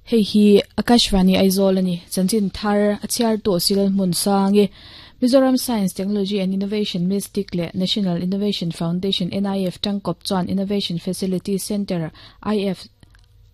Hei hi Akashvani Aizawl a ni. Chanchin thar a chhiartu Silal Hmunsangi, Mizoram Science, Technology and Innovation Mystic leh National Innovation Foundation, NIF, tangkawp chuan Innovation Facility Centre, IF,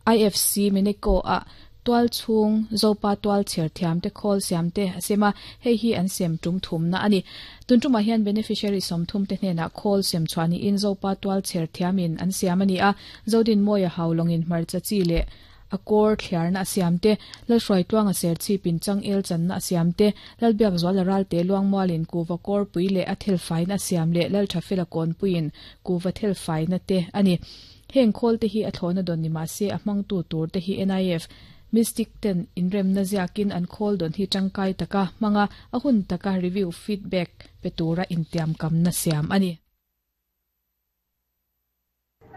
IFC, Mineko ah tual chhung Zopa tual chher thiam te khawl siam te a sem a, hei hi an sem tum thumna a ni. Tun tumah hian beneficiary 30 te hnenah khawl sem chhuah niin Zopa tual chher thiamin an siam a ni a, Zodinmawia Haulawngin hmarcha chi leh a kawr thliarna a siam te, Lalhruaitluanga serchhipin changel channa a siam te, Lalbiakzuala ralte Luangmualin kuva kawrpui leh a thelfaina a siam leh Lalthafela kawnpuiin kuva thelfaina te a ni. Heng khawl te hi a thlawhna dawn ni mah se a hmangtu tur te hi NIF Mystic ten inremna ziakin an khawl dawn hi tangkai taka hmanga a hun taka review feedback pe tura intiamkamna siam a ni.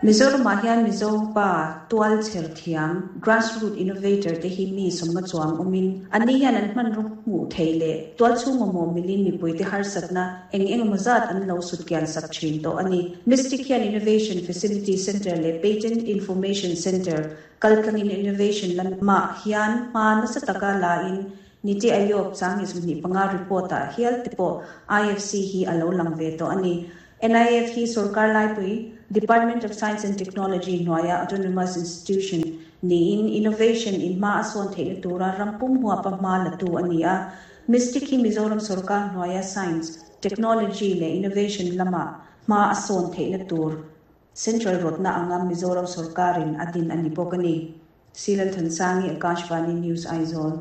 Mizoramah hian Mizo pa tual chher thiam, grassroot innovator, te hi mi sawmnga chuang awmin, anni hian an hmanraw hmuh thei leh tual chhung mamawh milin mipuite harsatna eng engemaw zat an lo sut kian sak thin tawh a ni. Mystic hian Innovation Facility Centre leh Patent Information Centre kaltlangin innovation lamah hian hma nasa taka lain Niti Aayog chang 25 report-ah hial te pawh IFC hi a lo lang ve tawh a ni. NIF hi sorkar laipui Department of Science and Technology hnuaia autonomous institution niin innovation in hma a sawn theihna tura ram pum huapa hma la tu a ni a. Mystic hi Mizoram sorkar hnuaia science, technology leh innovation lama hma a sawn theihna tur central rawtna anga Mizoram sorkarin a din a ni bawk a ni. Silalthansangi, Akashvani News, Aizawl.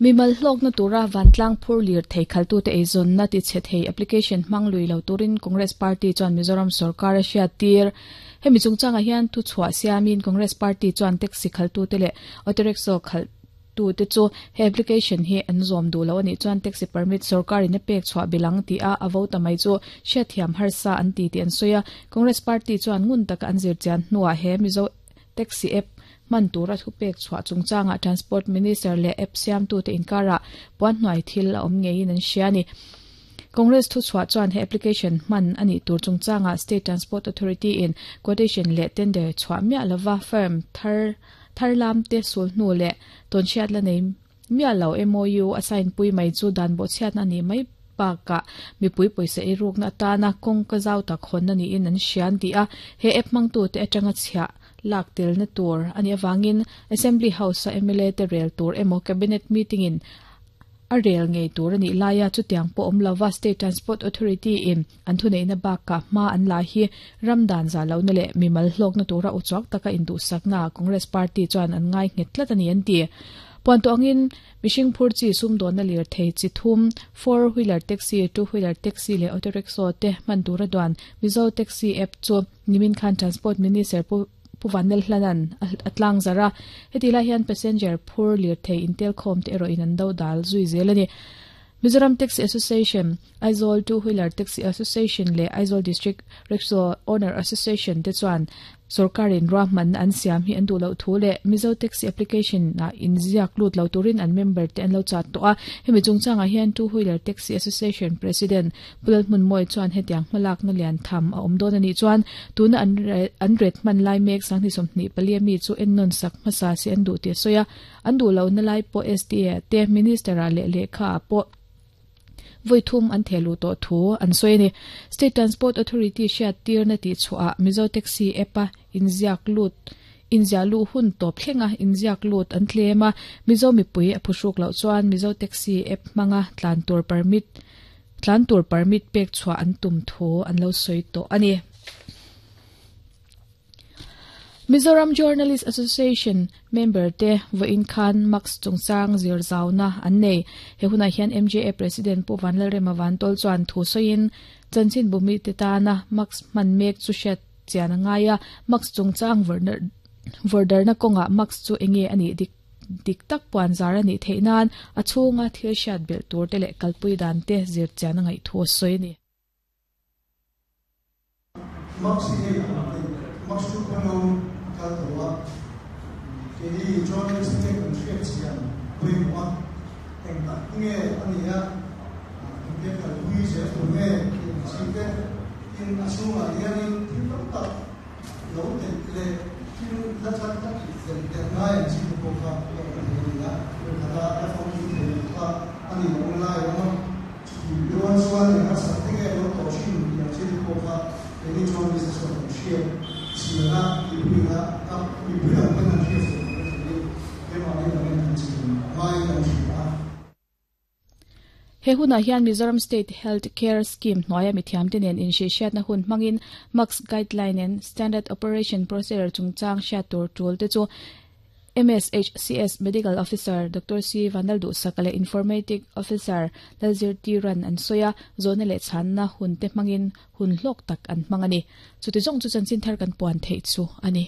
Mimal hlawkna tura vantlang phur lir thei khaltute eizawnna tichhe thei application hmang lui lo turin Congress Party chuan Mizoram sorkar a hriattir. Hemi chungchangah hian thuchhuah siamin Congress Party chuan taxi khaltute leh auto rickshaw khalhtute chu he application hi an zawm duh lo a nih chuan taxi permit sorkarin a pek chhuah bil ang tih a a vo ta mai chu hriatthiam harsa an ti tih an sawi a. Congress Party chuan ngun taka an zirchian hnuah he Mizo Taxi app hman tura thupek chhuah chungchangah Transport Minister leh app siamtute inkarah puanhnuai thil a awm ngeiin an hria a ni. Congress thuchhuah chuan he application hman a nih tur chungchangah State Transport Authority in quotation leh tender chhuah miah lova firm thar thar lamte sul hnu leh tawnhriat la nei miah lo MOU a sign pui mai chu dan bawhchhiatna a nih mai bakah mipui pawisa eirukna atana kawngka zau tak hawnna niin an hria an ti a, he app hmangtute atanga chhiah lak telna tur a nih avangin Assembly House-a mla te rel tur emaw Cabinet meeting-in a rel ngei tur a nih laia chutiang pawh awm lova State Transport Authority-in an thuneihna bakah hma an la hi ram dan zah lohna leh mimal hlawkna tura uchuak taka induhsaknaah Congress Party chuan an ngai nghet tlat a ni an ti. Puantuah angin mihring phur chi sumdawnna lirthei chi thum, four wheeler taxi, two wheeler taxi leh auto rickshaw te hman tura duan Mizo Taxi app chu nimin khan Transport Minister Pu Pu Vanlalhlanan a tlangzarh a. Hetih lai hian passenger phur lirthei intelkhawm te erawhin an do dal zui zel a ni. Mizoram Taxi Association, Aizawl Two Wheeler Taxi Association leh Aizawl District Rickshaw Owner Association te chuan sorkarin ruahmanna an siam hi an duh loh thu leh Mizo Taxi Application ah inziak lut lo turin an member te an lo chat tawh a. Hemi chungchangah hian Two Wheeler Taxi Association President Pu Lalhmunmawia chuan hetiang hmalakna lian tham a awm dawn a nih chuan tuna an an ret hman lai mek 2024 ami chu ennawn sak hmasa se an duh tih a sawi a. An duh lohna lai pawh SDA te Minister-ah leh lehkha-ah pawh vawi thum an theh luh tawh thu an sawi a ni. State Transport Authority hriattirna tih chhuahah Mizo Taxi app-a inziak lut inziah luh hun tawp thlenga inziak lut an tlem a, Mizo mipui a phuhruk loh chuan Mizo Taxi app hmanga tlan tur permit tlan tur permit pek chhuah an tum thu an lo sawi tawh a ni. Mizoram Journalist Association member te vawiin khan Mask chungchang zir zauna an nei. He hunah hian MJA President Pu Vanlalrema Vantol chuan thu sawiin, Chanchin bumi te tana mask hman mek chu hriat chian a ngai a, mask chungchang vawrdarna kawngah mask chu enge a nih dik dik tak puan zar a nih theih nan a chhunga thil hriat belh tur te leh kalpui dan te zir chian a ngaih thu a sawi a ni. Max hi hei a lang a ni. Max chu kawng lo kal tawh a, keini journalist te kan hriat chian pawimawh a, eng tak nge a nih a, engtia kalpui zel tur nge tih ang chi te, tin a chhungah hianin thil tam tak lo telh leh. Thil la thar tak tih fel der ngai ang chi te pawh kha la awm thei a ni a, khat a la famkim thei lo kha a ni lo lai a awm a, chutih rual chuan eng harsat te nge lo tawh thin tih ang chi te pawh kha keini chuan business chuan kan hriat chian a, mipui a mipui ang pawn an hriat fel tur a niin keimahni lam in kan chim ngaiin kan hria a. He hunah hian Mizoram State Health Care Scheme hnuaia mithiamte nen inhrihhriatna hun hmangin MACS Guideline and Standard Operation Procedure chungchang hriat tur tul te chu MSHCS Medical Officer Doctor C Vanlalduhsaka leh Informatic Officer Lalzirtiran an sawi a, zawhna leh chhanna hun te hmangin hun hlawk tak an hmang a ni. Chuti zawng chu chanchin thar kan puan theih chu a ni.